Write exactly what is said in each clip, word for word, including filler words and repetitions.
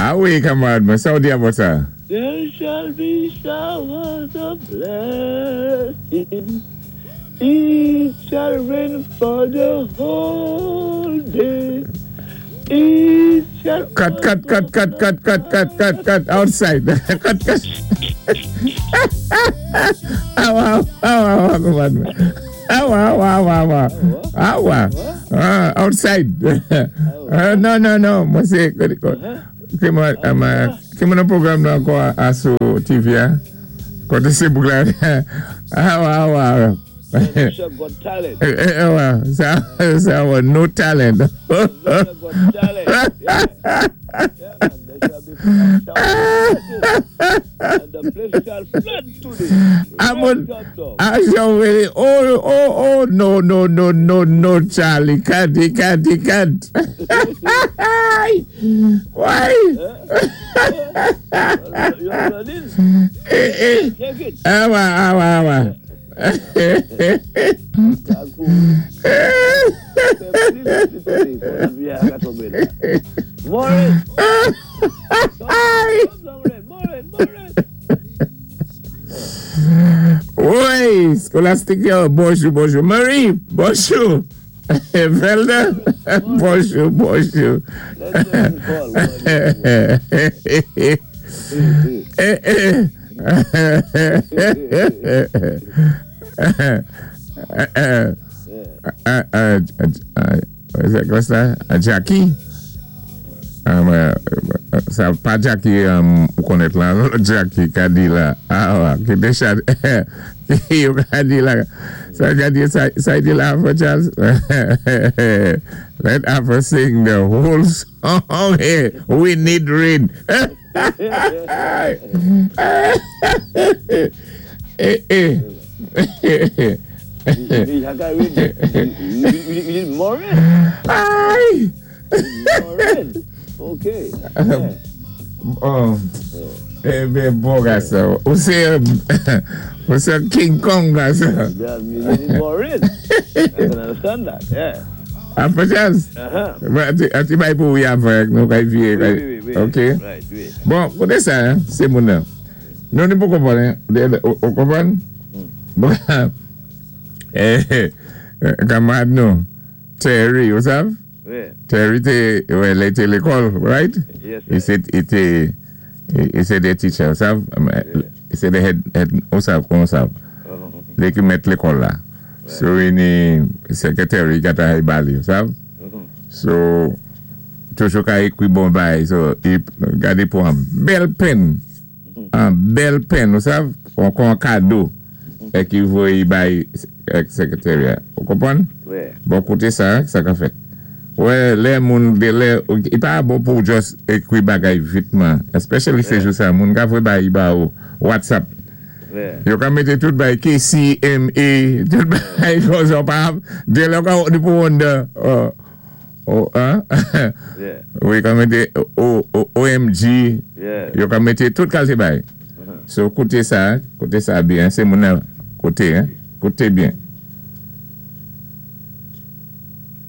Ah wi, kanmarad, mwen, sa ou di about sa? There shall be showers of blessing. It shall rain for the whole day. It shall Cut, cut, cut, cut, cut, cut, cut, cut, cut, outside. Cut, cut. Ah, wa, ah, wa, wa, kanmarad mwen. Ah, wa, wa, wa, wa. Ah, wa. Ah, outside. Uh, no, no, no. Mwen sé, ki mwen, ki mwen nan pwogram nan ankò a sou T V a? Koté sé bouk la. Ah, wa, wa. Russia got talent. Eh, eh, wa, sa, sa, wa, no talent. Russia got talent. Yeah. Yeah, man. There shall be showers of blessing. And the place shall flood today. I'm Rain on, come down. I shall really, oh, oh, oh, no, no, no, no, no, Charlie, can't, he can't, he can't. Why? You're running? Eh, eh. Take it. Ah, wa, ah, wa, ah, wa. Kakou. Fè plis today. Maureen! Come down, Maureen, Maureen. Wi, Scholastic, bonjou, bonjou. Marie, bonjou. Velda, bonjou, bonjou. Let's just call. Eh, eh. Eh, eh, eh, eh, what's that? Jackie? Um, sa pa Jackie um, ou konnèt la, Jackie ka di la. Ah, wa, ki déja, yo ka di la. Sa ka di, sa, sa di la for Charles. Let Afro sing the whole song here. We need rain. Eh, eh. You need more rain. Ay! More rain. Okay. Yeah. Oh, eh, ben bon gason. Ou sé, ou sé King Kong gason. Yeah, you need more rain. I can understand that. Yeah. Afro Charles? Uh-huh. A ti bay pou avèk nou kay vié. Wi, wi, wi. Ok? Right, wi. Bon, koté sa, sé moun nan. Nou ni pou konpwann, ou konpwann? Bon, eh, kanmarad nou, Terry, ou sav? Wi. Terry té, wè, lè té lékòl, right? Yes, He said, he té, he said the teacher, ou sav? He said the head, head, ou sav, kon sav? Uh-huh. Lè ki mèt lékòl la. So, ini secretary gata hay bali, ou sav? Uh-huh. So, toujou ka ékwi bon bay, so, i gadé pou an bèl pen, an bèl pen, ou sav? Kon kon kado, é ki voyé bay secretary, ou konpwann? Wi. Bon, koté sa, sa ka fèt. Wè, lè moun de lè, i pa bon pou just ékwi bagay vitman, especially sé jou sa, moun ka voyé bay ba ou WhatsApp. Wi. Yo ka mété tout bay K, C, M, A, tout bay kon sa pa, de lè ka di pou wonder, oh, oh, hein? Yeah. Wi, ka mété O, O, OMG, Yeah. yo ka mété tout kalité bay. So, koté sa, koté sa byen, sé moun nan, koté, hein? Koté byen.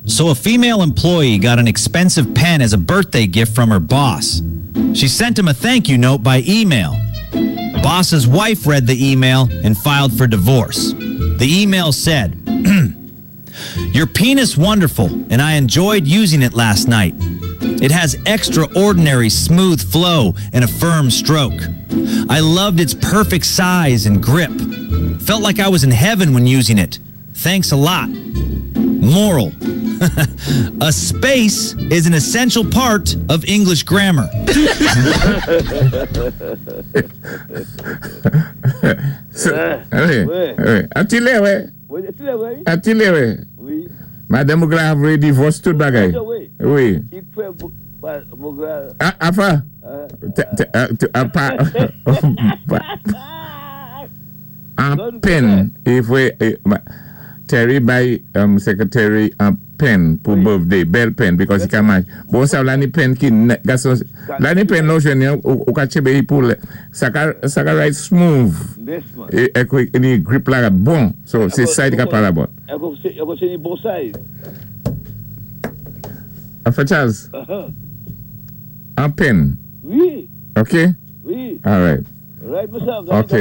So a female employee got an expensive pen as a birthday gift from her boss. She sent him a thank you note by email. Boss's wife read the email and filed for divorce. The email said, "Your penis wonderful, and I enjoyed using it last night. It has extraordinary smooth flow and a firm stroke. I loved its perfect size and grip. Felt like I was in heaven when using it. Thanks a lot. Moral. A space is an essential part of English grammar." So, wi, Wi. Wi. A ti lè, wè. Wi, ti lè, wi. A ti lè, wè. Wi. Madanm ou la vwé divorce tout bagay. Wi. Wi. I fè, ba, mo gra, Ah, afa. ah, Te- te- ah, te- ah, pa, pa, an pen, e vwé, eh, ma- Terry bay um, secretary an pen pou Wi. birthday, bèl pen, because i ka match. Bon, sa la ni pen ki, ne- gason, la ni pen lò jwenn yon, ou, ou ka tchébé yi pou lè, sa ka, sa ka write smooth. Yes, man. É, é, kwe- ni grip la bon. So, sé sa i ka pala about. É kon sé, é kon sé ni bon size. Afa Charles, Uh-huh. an pen, Wi, Ok? wi. All right. Right, myself. Ok.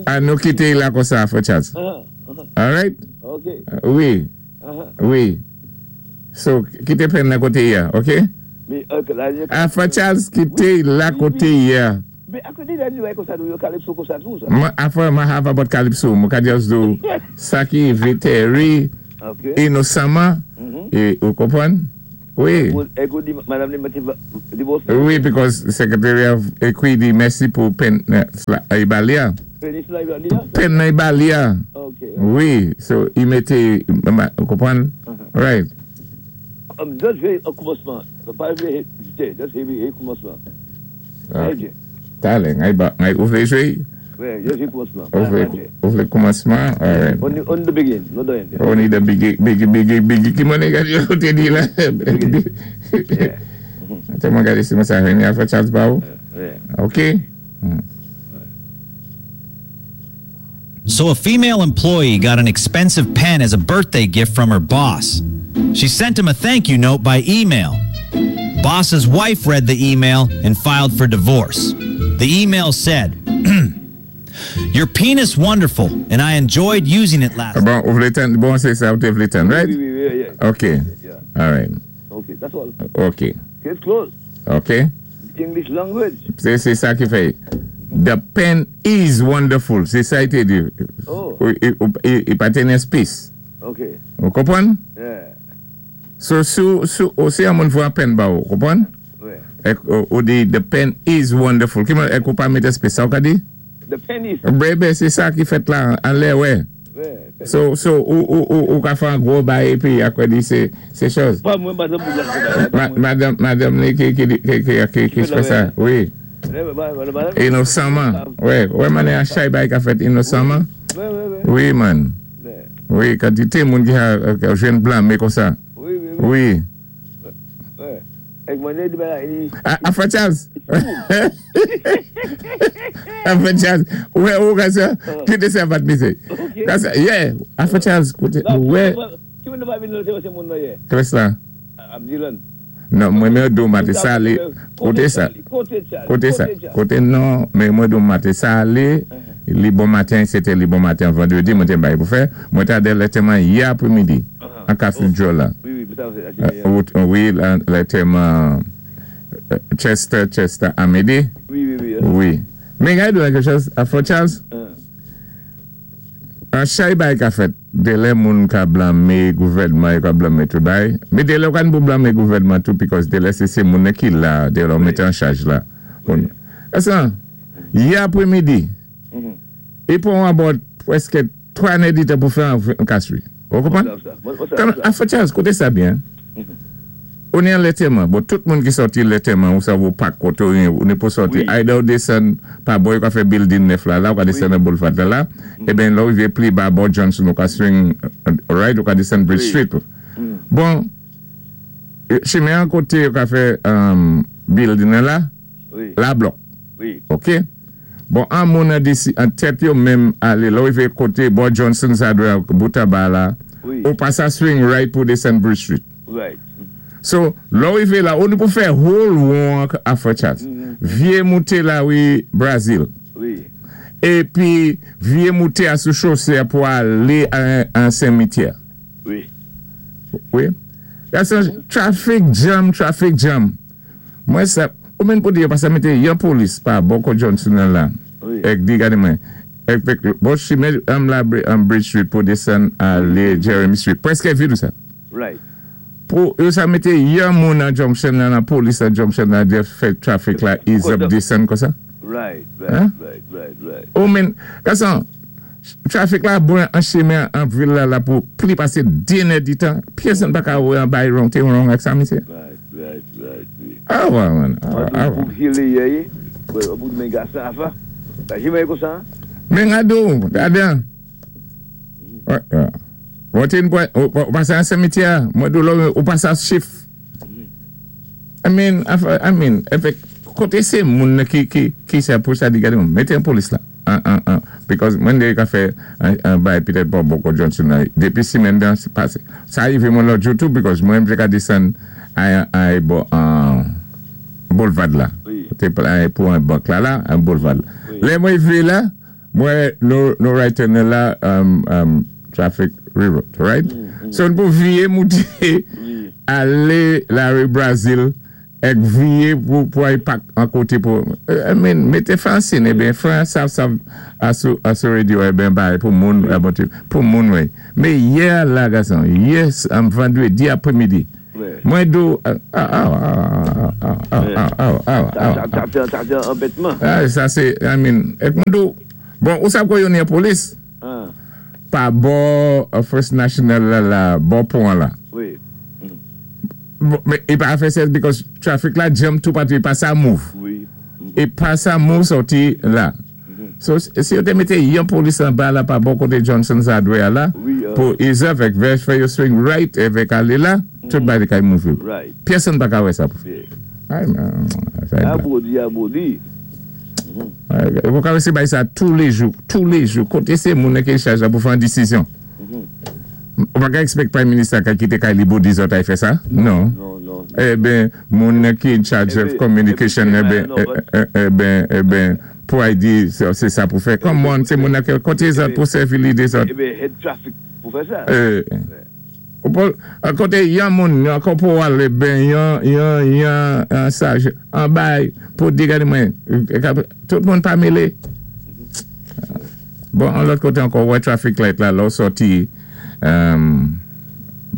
An nou kité la konsa, Frè Charles. Uh-huh, uh-huh. All right? Ok. Uh, wi, Uh-huh. wi. So, kité pen nan koté ya, ok? Mais, ok, la, Ah, Frè Charles, kité la koté ya. Mais, à côté de la comme ça, nous, Calypso comme ça, tout ça. Ma, afè, ma have about Calypso, mwen ka just do sa ki rivé Terry Ok. inosamman, Mhm. é ou konpwann? Wi. É kou di, madanm ni mété divòs. Wi, because secretary of ekwi di mèsi pou pen i ba li a. Penis la, i va di, Pen nan i ba li a. Ok. Wi, so i mété, ou konpwann? Right. Um, just jwé an koumansman. Pa jwé, just jwé koumansman. Ah. Talè, ngay ba, ngay ou vlé jwé? Wi, just jwé koumansman. Ou vlé, ou vlé koumansman? Alright. Only, only the beginning, not the end. Only the biggie, biggie, biggie, biggie. Ki mwen gade yo te di la? Yeah. Ate mwen gade si mwen sa reni a Frè Charles ba ou? Yeah. Ok? Hmm. So a female employee got an expensive pen as a birthday gift from her boss. She sent him a thank you note by email. Boss's wife read the email and filed for divorce. The email said, "Your penis wonderful, and I enjoyed using it last Bon, ou vlé tann, bon, sé sa ou té vlé tann, right? Wi, wi, wi, yeah. Ok. Yeah. Alright. Okay, that's all. Ok. Case closed. Ok. English language. Sé sé sa ki fè. The pen is wonderful. Sé sa i té di. Oh. Ou, ou, i, i pa té space. Ok. Ou konpwann? Yeah. So, sou, sou, ou si yon moun voyé pen ba ou, konpwann? Wi. Ek, ou, ou di, "The pen is wonderful." Ki moun, ek ou pa mété space, sa ou ka di? The pen is. Bébé, sé sa ki fèt la, an lè, wè. Wi. So, so, ou, ou, ou, ou ka fè an gwo bay épi akwe di sé, sé chòz. Pa mwen, madanm pou la. Ma, madanm, madanm ni ki, ki, ki, ki, ki, ki fè sa, wi. Inosamman, wè, wè mané an chay bay ka fèt inosamman. Wi, wi, wi. Wi, man. Wi, Wi, kantité moun ki a, ka jwenn blanmé konsa. wi, wi. Wi. Wi. Wi. Ek mwen di ba, i- A, a Frè Charles. A Frè Charles. Wè, ou ka sa, kité sa vat misé. Ok. Ka sa, yeah, a Frè Charles, koté, Non, wè, ki moun nou pa vin lòt se moun nan yé? Kres la. Am Dylan. Non, mwen mwen do mate sa li, koté sa, Koté Charlie. koté sa, koté non, men mwen do mate sa li, li bon maten, c'était li bon maten vendredi, mwen te bay pou fè, mwen ta de lèteman yè aprè-midi, an Cathedral la. Wi, wi, sa c'est. Euh, ou- Wi, lèteman Chester, Chester, Amédée, Wi, wi, wi. Wi. Men gade do quelque chose, a Frè Charles, Uh, an chay bay ka fèt, dé lè moun ka blanmé gouvèdman, yo ka blanmé tout bay, mé dé lè ou kan pou blanmé gouvèdman tou, because dé lè sé sé moun ki la, dé lè ou mété an chaj la. Bon. Asan, yè aprè-midi, mhm. i pwan about pwèské twa nèditan pou fè an, an kasri. Ou konpwann? Sa, sa, sa, Kan, sa. a Frè Charles, koté sa byen, ou ni an lètèman, bon, tout moun ki sòti lètèman, ou sa vou pak koté ou, ou ni pou sòti, Wi. either ou desann pa bò, yo ka fè building nèf la, la, ou ka desann nan boulevard la, la, é ben la ou rivé pli ba bò Johnson, ou ka swing uh, right, ou ka desann Bridge Wi. Street. Bon, chimen an koté, yo ka fè um, building nan la, Wi, la blòk. wi. Ok? Bon, an moun an disi, an tèt yo menm alé, la ou rivé koté bò Johnson sa dwé bouta ba la, Wi. ou pa sa swing right pou desann Bridge Street. Right. So, lò ou rivé la, ou ni pou fè whole won a Frè Charles. Vyé mouté la wi Brazil. Wi. Épi, vyé mouté a sou chosé pou alé an, an Saint-Mitière. Wi. Wi. That's a traffic jam, traffic jam. Mwen sa, ou menm pou di yo pa sa mété yon polis pa bò kot Johnson nan la. Wi. Ek di gade mwen. Ek pek, bon chimen am la am Bridge Street pou desann alé Jeremy Street. Pwèské vid ou sa. Right. Pou yo sa mété yon moun nan junction nan, nan polis nan junction nan, de fè traffic la ease up desann kon sa. Right, right, Hein? right, right, right. Ou men, kasan, traffic la bon an chimen an vil la la pou pli pasé denèditan, pyèsonn pa ka wè an bay wrong, té wrong ak sa misé. Right, right, right, wi. Ah wè man, ah wè, ah wè. Pou hile yé, pou men gasa afa. Ta jimè kon sa? Men gado, gade an. Wè, wè. Ou ten pou, ou ou pasé an cimetière, mwen do lò, ou pasé an chif. I mean, I mean, efek, koté sé moun ki, ki, ki sa pou sa di gade moun, mété an polis la. An, an, an. Because mwen de ka fè an, an bay Peter Bob Boko Johnson la, dépi simèn dan se pasé. Sa rivé mwen lòt jou tou, because mwen mte ka desann ay, ay bo, an, boulevard la. Wi. Té pou an bank la la, an boulevard. Lè mwen vi la, mwen nou, nou right turn la, um, um, traffic reroute, right? So nou pou viwé mouté, alé la ri Brazil, èk viwé pou, pou ay pak an koté pou, I mean, mété fencing, eh ben, fè sa, sa, asou, asou radio, eh ben, bay, pou moun, pou moun wè. Mé yè la, gason, yes, am vandwédi apwémidi, mwen do, ah, ah, ah, ah, ah, ah, ah, ah, ah, Sa fè sa fè anbètman. Ah, sa sé, I mean, èk mwen do, bon, ou sa kwa yon yon polis? Pa bò First National la, la, bò pon la. Wi. Bon, mé, i pa fè sens because traffic la jam tou patou, i pa sa move. Wi. I pa sa move sòti la. So, si yo té mété yon polis an ba la pa bò koté Johnson Hardware la, pou ease up èk vè fè yo swing right èvèk alé la, tout bagay kay move. Right. Pèsonn pa ka wè sa pou. Yeah. Ay, man, sa A bodi, a bodi. Ou ka wè sé bay sa tou lé jou, tou lé jou, koté sé moun ki chaj la pou fè an disizyon. Ou pa ka expect Prime Minister ka kité kay li bodi zòt ay fè sa? Non. Non, non. Eh ben, moun ki in charge of communication, eh ben, eh ben, eh ben, pou ay di, sé sa pou fè. Come on, sé moun ki koté zòt pou sèvi lidé zòt. Eh ben, head traffic pou fè sa. Eh, ou pou, koté yon moun, yon corporal, eh ben, yon, yon, yon, yon saj, an bay, pou di gade mwen, tout moun pa mélé. Bon, an lòt koté ankò, wè traffic light la, lò sòti,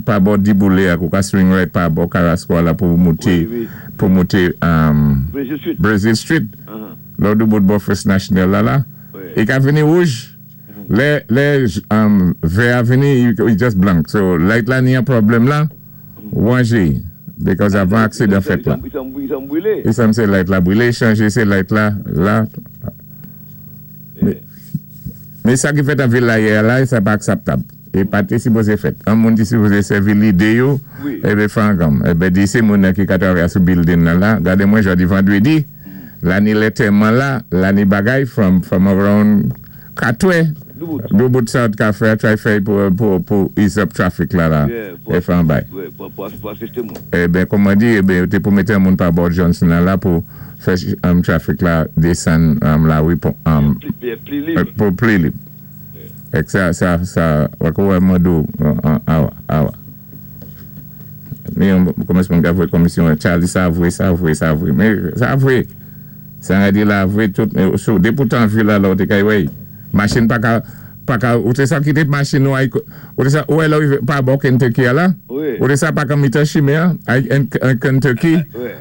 pa bò Diboulé ak ou ka swing right pa bò Carrasco la pou mouté, pou mouté Brazil Street. Brazil Street. Lò dou bout bò First National la la. I ka vini wouj. Lè, lè vè a vini, i just blank. So, light la ni an pwoblèm la, wanje. Because avan aksidan fèt la. I san bwilé. I san sé light la bwilé, chanje sé light la, la. Mé sa ki fèt an vil la yè la, sa pa akseptab. E pa té sipozé fèt. An moun ti sipozé sèvi lidé yo, e bé fè an gam. E bé di sé moun ki ka travay sou building nan la. Gade mwen jodi vandwédi, la ni lè tèman la, la ni bagay from, from around katwè. Dou bout sa ka fè, try fè pou, pou, pou ease up traffic la la. E fè an bay. Pou, pou asisté moun. E ben, kòman di, e ben, té pou mété moun pa bò Johnson nan la pou fè um, traffic la désann um, la wi pou, um, Pli lib. Pou pli lib. Èk sa, sa, sa, wako wè mwen awa, awa. Mi yon kòmès mwen ka vwé komisyon, Charlie, sa vwé, sa vwé, sa vwé. Mé, sa vwé. Sa nga di la vwé tout, sou, dépoutan vil la la ou te kay wè. Machin pa ka, pa ka, ou té sa kité machin nou ay, ou té sa, ou è la ou pa bò Kentucky a la? Ou té sa pa ka mitan chimen, ay, en Kentucky,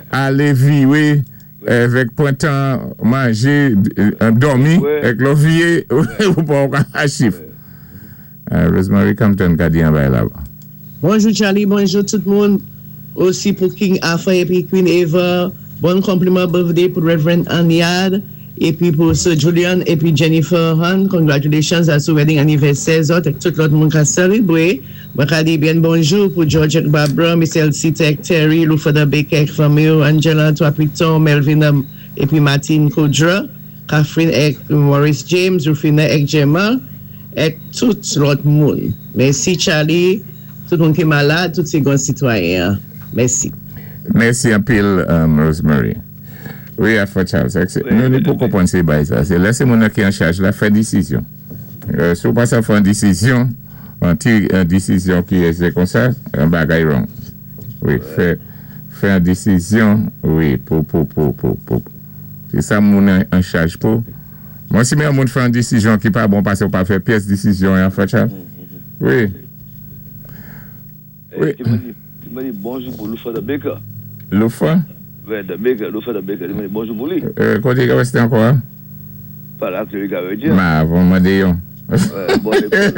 alé viwé, èvèk pwan tan manjé, dòmi, èk lò viyé, ou pa ou ka achif. Rosemary Compton ka di an bay la. Bonjou Charlie, bonjou tout moun. Osi pou King Alpha épi Queen Eva. Bon konpliman birthday pou Reverend Aniad. Épi pou Sir Julian épi Jennifer Hunt. Congratulations à sou wedding anniversaire zòt èk tout lòt moun ka sélébwé. Mwen ka di byen bonjou pou George èk Barbara, Miss Elsie Tech, Terry, Lufada Baker, fanmi, Angela Twapiton, Melvin épi Martin Koudra, Catherine èk Maurice James, Rufina èk Gemma, èk tout lòt moun. Mèsi Charlie, tout moun ki malad, tout sé gon sitwayen. Mèsi. Mèsi anpil, um, Rosemary. Wi, Alpha Charles. Nou ni pou konpwann sé bay sa. Sé lè sé moun ki an chaj la fè disizyon. Euh, si ou pa sa fè an disizyon, an ti an disizyon ki é kon sa, an bagay wrong. Wi, fè fè an disizyon, wi, pou pou pou pou pou. Sé sa moun an chaj pou. Mwen si mwen moun fè an disizyon ki pa bon pasé ou pa fè pyès disizyon Alpha Charles. Wi. Wi. Ti mwen di bonjou pou Lufa the Baker. Lufa? Wè, the Baker, Lufa the Baker. Ti mwen di bonjou pou li. Euh, koté ka wè sé ankò, hein? Pa la ki li ka wè di. Ma, von mwen de yon.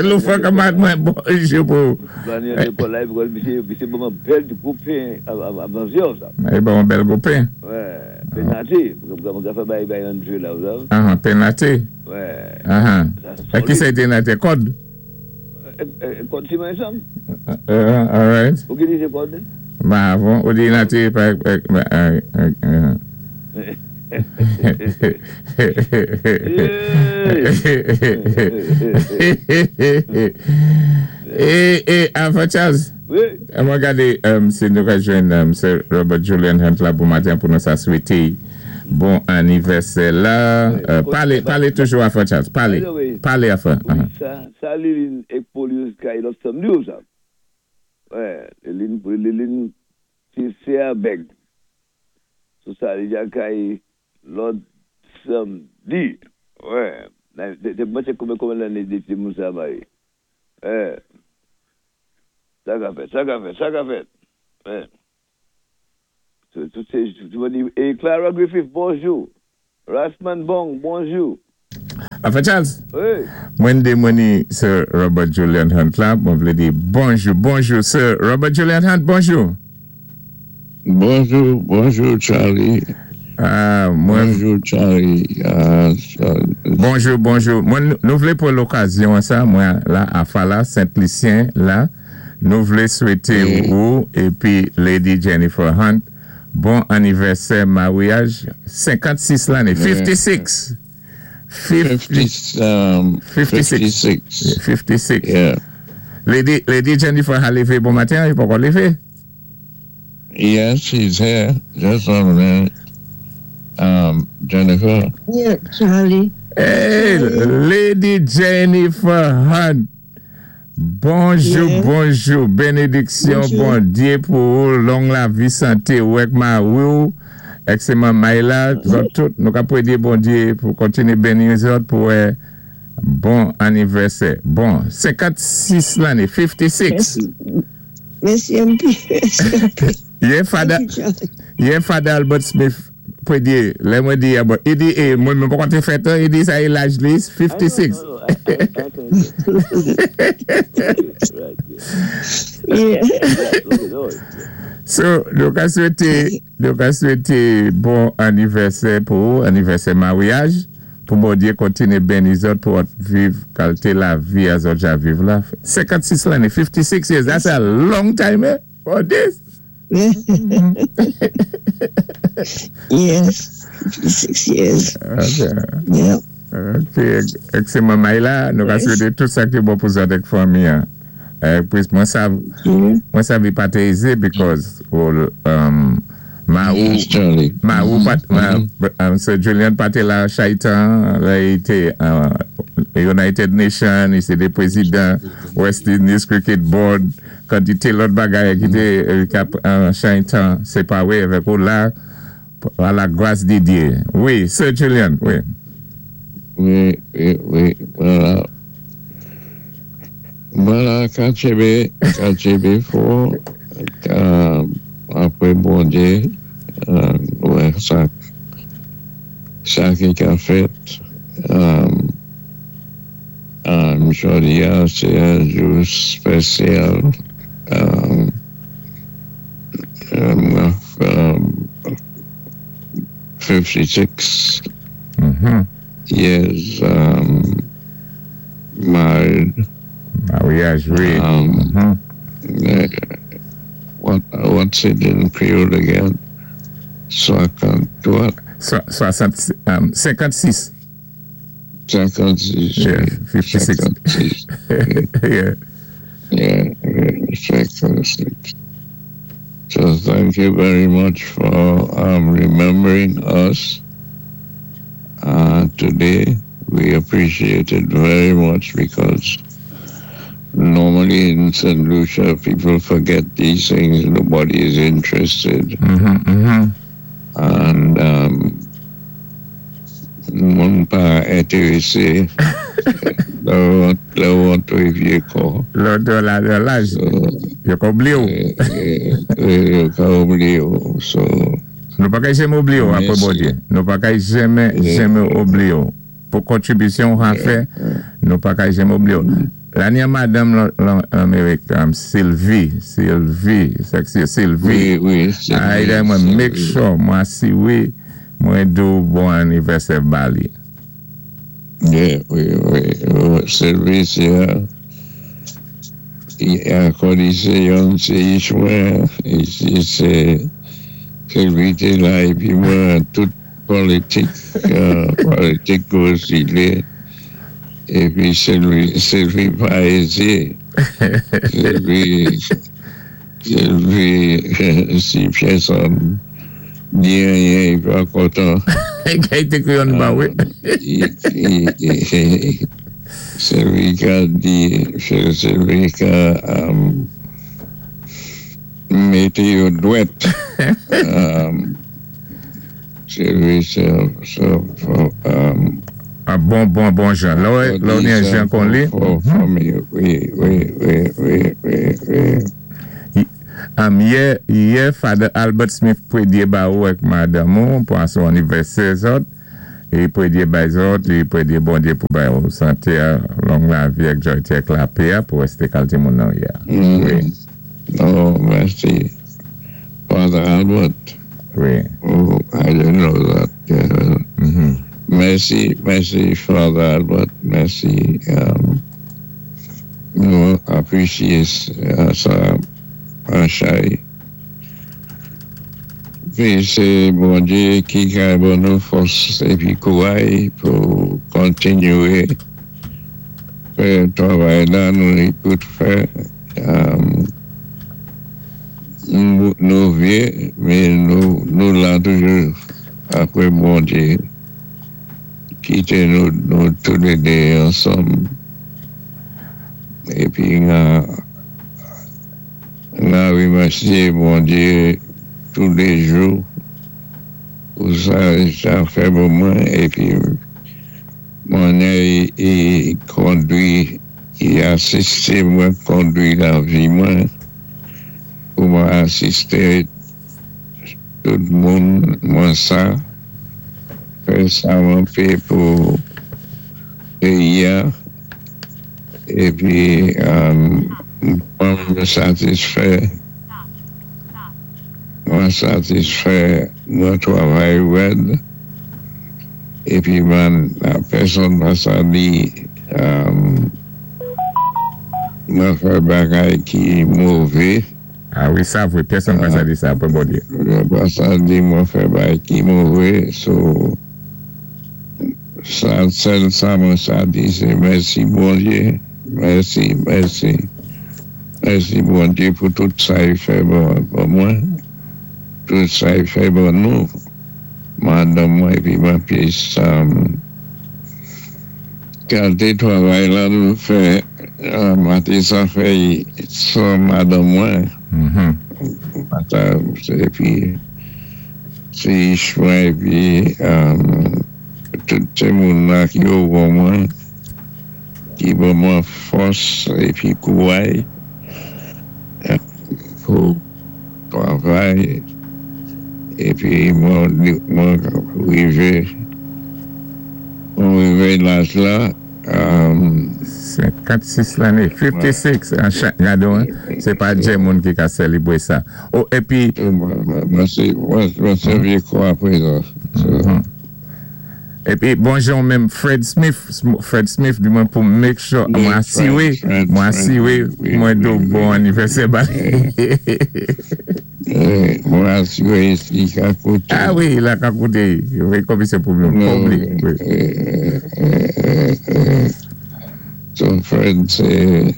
Lufa kamat mwen bonjou pou. Bani an lekòl la, misé, misé ban mwen bèl gwo pen avan zyon sa. E ban mwen bèl gwo pen? Wè, pen naté. Mwen ka fè bay bay an djou la, ou sav? Ahan, pen naté? Wè. Ahan. E ki sa ite naté? Kòd? Kòd siman ensanm. All right. Ou ki di sé kòd? Ma, von, ou di naté pa... Uh, uh, E, e, Alpha Charles. Wi. Mwen gadé, um, si nou ka jwenn um, Sir Robert Julian Hunt la pou maten pou nou sa swété Bon anivèsè la. Euh, palé, palé toujou a Frè Charles. Palé. Palé a Frè. Wi, sa, sa Lilin ek Polius kay lòt samdi ou sa? Wè, Lilin, Lilin, sé sé a bèg. So sa li ja kay lòt samdi. Wè, mwen sé konbyen konbyen lanné dépi moun sa maryé. Wè. Sa ka fèt, sa ka fèt, sa ka fèt. Wè. Tout sé, é Clara Griffith, bonjou. Rasman Bong, bonjou. Frè Charles? Wi. Mwen dé mwen ni Sir Robert Julian Hunt la, mwen vlé di bonjou, bonjou Sir Robert Julian Hunt, bonjou. Bonjou, bonjou Charlie. Ah, mwen Bonjou Charlie. Ah, Bonjou, bonjou. Mwen nou vlé pou lokazyon sa, mwen la a Fala, Saint-Lucien la, nou vlé swété Wi. ou épi Lady Jennifer Hunt bon anivèsè maryaj senkannsis lanné, fifty-six. fifty, fifty, um, fifty-six. fifty-six. fifty-six. Yeah. Lady, Lady Jennifer a lévé bon maten, li poko lévé? Yes, she's here. Just one minute. Um, Jennifer. Yeah, Charlie. Hey, Lady Jennifer Hunt. Bonjou, Yeah. bonjou. Bénédiksyon, Bonjou. Bondyé pou ou, long lavi, santé, ou ek mari ou, ek sé manmay la, zòt tout, nou ka pwédé Bondyé pou kontiné béni zòt pou eh, bon anivèsè. Bon, senkannsis lanné, fifty-six. Mèsi. Mèsi anpil. Mèsi anpil. Yè Father, Thank you, Charlie. Yè Father Albert Smith pwédé, lè mwen di, ah, bon, i di, eh, mwen mwen pa te fèt, i di sa é laj li, fifty-six. I know, I know, I, I, I can right, yeah. Yeah. Right, okay, no worries. So, nou ka swété, nou ka swété bon anivèsè pou ou, anivèsè maryaj, pou Bondyé kontiné béni zòt pou viv kalité lavi a zòt ja viv la. senkannsis lanné, fifty-six years, that's a long time, eh, for this. Yes. fifty-six years. Ok. Yeah. Ok, ek sé manmay la, nou ka Yes. swété tout sa ki bon pou zòt ek fanmi an. Eh, pwis mwen sav, Yeah. mwen sav i pa té easy because ou, um, ma ou, Yes, Charlie. Ma ou pat, ma, um, Sir Julian pa té la chaitan, la i té uh, United Nations, i sé té prézidan West Indies Cricket Board, kantité lòt bagay ki té euh, kap uh, chaitan séparé avèk ou la, a la gras di Dyé. Wi, Sir Julian, wi. Wi, wi, wi, vwala. Vwala, ka tchénbé, ka tchénbé fò, ka, apwé Bondyé, euh, wè, sa, sa ki ka fèt, euh, euh, jòdi a, sé yon jou spésyal, euh, euh, um, fifty-six Mhm. years um, married. Maryaj, wi. Um, Mhm. uh, what what's it in Creole again? Swakant what? So, swasant, um, senkannsis. Senkannsis. Yeah, fifty-six. Senkannsis. yeah. Yeah, yeah, senkannsis. So thank you very much for um, remembering us uh, today. We appreciate it very much because normally in Saint Lucia people forget these things. Nobody is interested. Mhm, mhm. And um, moun pa entéwésé. Lè lè ou twò vyé kò. Lò de la, de laj, So, yo ka oubliyé ou. eh, eh, eh, yo ka oubliyé ou. So, Nou pa kay janmé oubliyé ou apwé Mèsi. Bondyé. Nou pa kay janmé, Yeah. janmé oubliyé ou. Pou kontribisyon ou an fè, nou pa kay janmé oubliyé ou. La ni madanm lan Amerik, um, Sylvie, Sylvie, sexy, Sylvie. wi, wi, c'est Ay, lè mwen make sure, mwen si wi, mwen dou bon anivèsè ba li. Yeah, wi, wi. Wi, Sylvie, sé ankò di sé yon sé mwen, isi sé Sylvie té la épi mwen tout politik, euh, politik osi épi Sylvie, Sylvie pa ézé. Sylvie, Sylvie, si pèsonn Di anyen, i pa kontan. I té kwi ba wi. Sé lwi ka di, sé lwi ka um, mété yo dwèt. Um, sé lwi sé, sé, um, Ah, bon, bon, bon jan. La, la, ni yon jan kon li. Wi, wi, wi, wi, wi, wi. Um, yè, yè, Father Albert Smith pwédyé ba ou ak madanm ou pou an son anivèsè zòt. I pwédyé bay zòt, i pwédyé Bondyé pou bay ou santé, long lavi ak jwayté ak lapè pou wèsté kalité moun nan yè. Mm. Wi. Oh, mèsi. Father Albert. Wi. Oh, I didn't know that. Yeah. Mhm. Mèsi, mèsi, Father Albert. Mèsi. Um, nou apwisyé sa an chay. Pi sé Bondyé ki ka ban nou fòs épi kouray pou kontinyé fè travay la nou ni pou fè. Um, nou, nou vyé, mé nou, nou la toujou apwé Bondyé kité nou, nou toulédé ansanm. Épi, na, na wimèsyé Bondyé touléjou pou sa, sa fè pou mwen épi mwen i kondwi, i asisté mwen kondwi lavi mwen pou mwen asisté tout moun mwen sa fè sa mwen pé pou péyi a épi um, mwen satisfè mwen satisfè mwen travay wèd épi mwen pèsonn pa sa di um, mwen fè bagay ki mové. Ah wi, sa vwé, pèsonn pa sa di sa, apwé Bondyé. Mwen pa sa di mwen fè bagay ki mové, so sa, sèl sa mwen sa di sé mèsi Bondyé, mèsi, mèsi, mèsi Bondyé pou tout sa i fè pou, pou mwen, tout sa i fè pou nou, madanm mwen épi mwen pis um, kalité travay la nou fè, uh, mwen sa fè san madanm mwen, Mhm. Mata, épi sé mwen épi um, tout sé moun la ki yo pou mwen, ki ban mwen fòs épi kouray pou travay épi mwen mwen rivé mwen rivé laj la um, senkannsis lanné, fifty-six, an chak gado, hein? Sé pa djé moun ki ka sélébwé sa. Oh, épi, mwen mwen sé mwen mwen sé vyé kwa apwé sa. So, épi, bonjou menm Fred Smith, Fred Smith di mwen pou make sure, Wi, mwen asiwé, Fred, mwen Fred, asiwé, wi, mwen wi, do wi. Bon anivèsè ba. Eh, mwen asiwé si ka kouté. Ah wi, la ka kouté, wi, kòm sé pou nou, public, wi. Eh, eh, eh, eh, So Fred, sé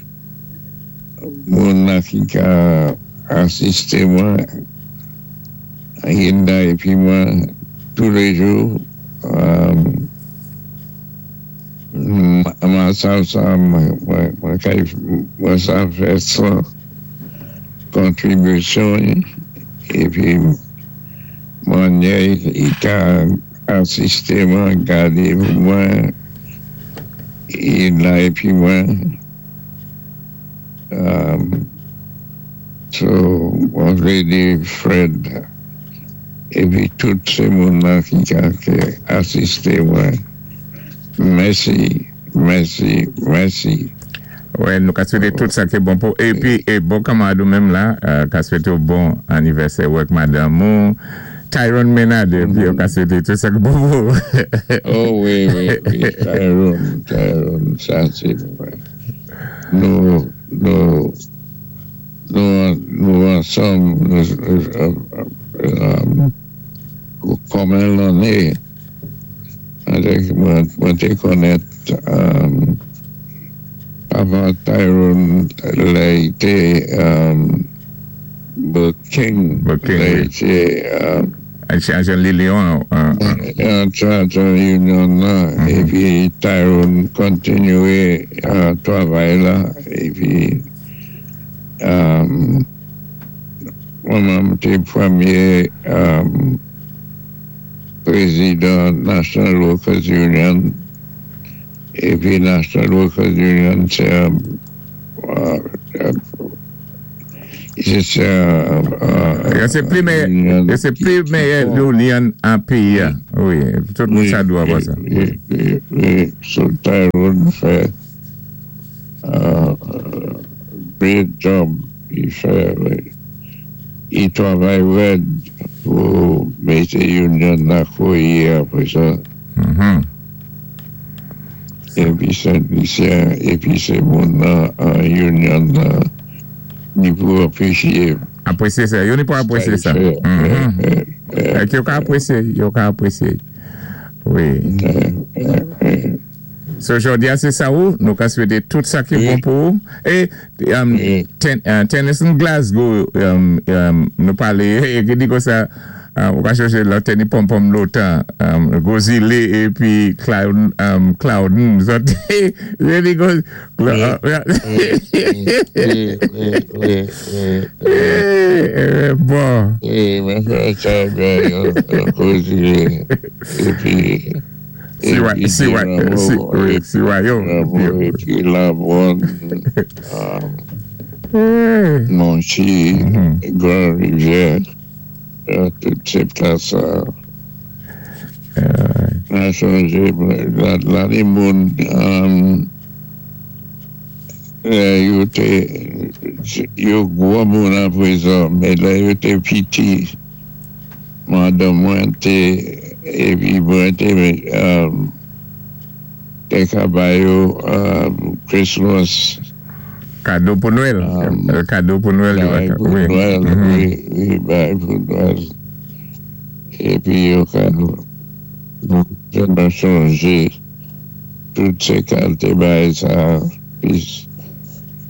moun la ki ka asisté mwen, Hinda épi mwen, touléjou. Um, mwen sa sa, mwen, mwen, mwen kay, mwen sa fè san kontribisyon épi mwen i ka asisté mwen, gadé pou mwen, i la épi mwen. Um, so, mwen vlé di Fred épi tout sé moun la ki ka ki asisté mwen. Mèsi, mèsi, mèsi. Wè, nou ka swété tout sa ki bon pou. Épi, é bon kanmarad ou menm la, euh, ka swété ou bon anivèsè ou ak madanm ou. Tyrone Menard, épi ou ka swété tout sa ki bon pou. Oh wi, wi, wi, Tyrone, Tyrone, sa sé vwé. Nou, nou, nou, nou ansanm, nou, euh, euh, kòm lanné, avèk mwen, mwen té konnèt um, papa Tyrone, lè i té um, Buck King, Buck King, lè wi. I té um, Jan Lilion. An charter union la, épi Tyrone kontinyé a travay la, épi mwen té pwémyé pwézidan National Workers Union, épi National Workers Union sé sé Sé pli méyè, sé pli méyè union an péyi a. Wi, tout moun sa dwa wè sa. Wi, wi, wi. So Tyrone fè great job i fè, wi. I travay wèd pou mété union la kouwè apwé sa. Mm-hmm. Épi Saint Lucien, épi sé moun an union la ni pou apwésyé. Apwésyé sa, yo ni pou apwésyé sa. Ék yo ka apwésyé, yo ka apwésyé. Wi. So jòdi a sé sa ou, nou ka swété tout sa ki bon pou ou. É, Tennyson Glasgow, nou palé, é ki di kon sa, ou ka chòché lò té ni pom-pom lòtan, Gozile épi Clouden, zòt, yo di kon, Wi, wi, wi, wi. Bon. Wi, mwen fè sa byen, Gozile, épi Siwa, siwa, siwa yo. Épi Labron, Monchi, Grand Rivière, tout sé plas sa. An chonjé, la ni moun, yo té, yo gwo moun apwézan, mé lè yo té piti, madanm mwen té, épi mwen té, té ka ba yo Christmas. Kado pou Nwèl. Kado pou Nwèl. Bay pou Nwèl, wi, wi, bay pou Nwèl. Épi yo ka chonjé tout sé kalité bay sa, pis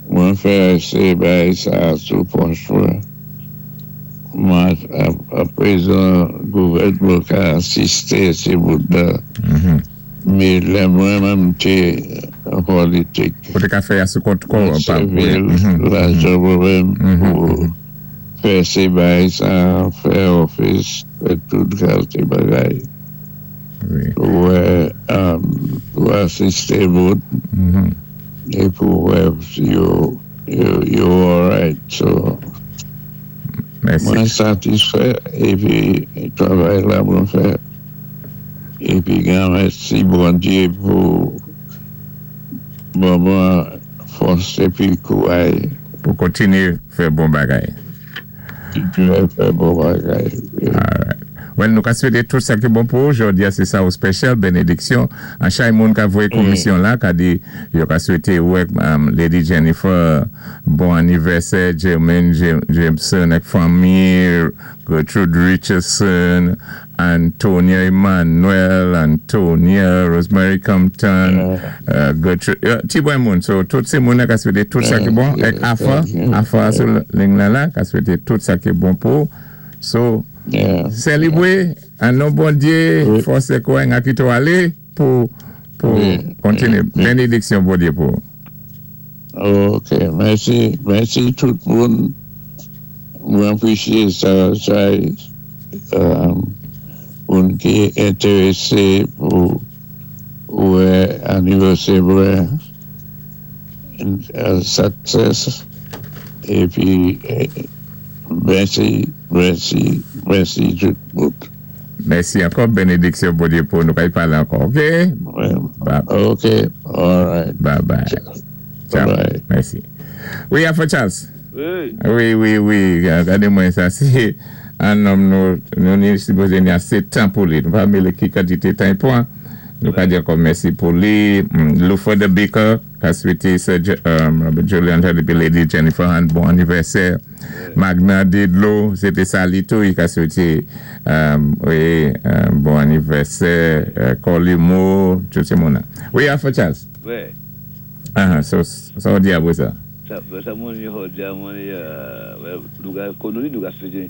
mwen fè sé bay sa sou pòch mwen. Mwen apwézan gouvèdman ka asisté sé bout la. Mé lè mwen menm té an politik. Ou té ka fè a sou kont kò. Sivil, lajan mwen menm pou fè sé bay sa, fè ofis, fè tout kalité bagay. Pou pou asisté moun é pou wè yo yo alright. So, mwen satisfè épi travay la mwen fè. Épi gen mèsi Bondyé pou ban mwen fòs épi kouway. Pou kontinyé fè bon bagay. Kontinyé fè bon bagay. Alright. Well, nou ka swété tout sa ki bon pou ou. Jòdi a sé sa ou special, bénédiksyon. An chay moun ka voyé komisyon la, ka di, yo ka swété wèk Lady Jennifer, bon anivèsè, Jermaine Jameson ek fanmi, Gertrude Richardson, Antonia Emmanuel, Antonia, Rosemary Compton, Gertrude, ti bon moun. So, tout sé moun ka swété tout sa ki bon. Ek Afa, Afa sou ling la la, ka swété tout sa ki bon pou ou. So, sélébwé, an non Bondyé, fòs é kouway nga kito alé pou pou kontinyé. Bénédiksyon Bondyé pou. Ok, mèsi, mèsi tout moun. Mwen apwésyé sa, sa, moun ki entéwésé pou wè anivèsè mwen, success, épi mèsi, mèsi, mèsi tout moun. Mèsi ankò, bénédiksyon Bondyé pou nou kay palé ankò, ok? Ok, alright. Bye bye. Ciao. Mèsi. Wi, Alpha Charles. Wi. Wi, wi, wi. Gadé mwen sa, sé an nonm nou, nou ni sipozé ni asé tan pou li. Nou pa mélé ki kantité tan i pwan. Nou ka di ankò mèsi pou li. Lufa the Baker, ka swété Sir Robert Julian épi Lady Jennifer Hunt, bon anivèsè. Magna Didlo, sé té sa li tou, i ka swété wi, bon anivèsè. Colimo, tout sé moun. Wi, Alpha Charles. Wi. Ah, so, sa ou di apwé sa? Sa, sa moun yo di a moun, nou ka konn nou ka swété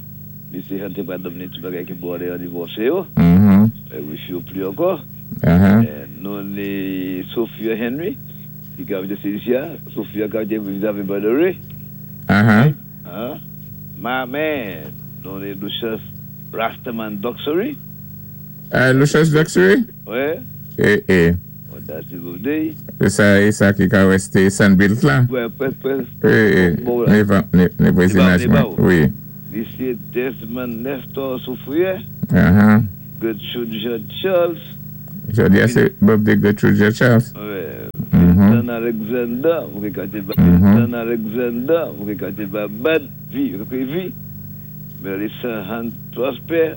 Misyé chanté pa donné tout bagay ki bon anniversaire yo. Mhm. É wish yo pli ankò. Uh-huh. É, nou ni Sophia Henry, ki ka Celicia, Sophia ki vizavi Bandery. Uh-huh. Hein? My man, nou ni Lucius Rastaman Doxery. Uh, Lucius Doxery? Wè. É, é. Oh, that's a good day. É sa, é sa ki ka wèsté Sunbuilt la? Wè, pwès, pwès. É, é. Bon, Né, né, né vwazinaj Né ba, mwen. Wi. Misyé Desmond Nestor Soufrière, Uh-huh. Gertrude Jean Charles, Jòdi a sé birthday Gertrude Jean Charles. wè, Mhm. Vincent Alexander, vous regardez Mhm. Vincent Alexander, vous regardez Babad, vie, vous vi, Melissa Hunt Prosper,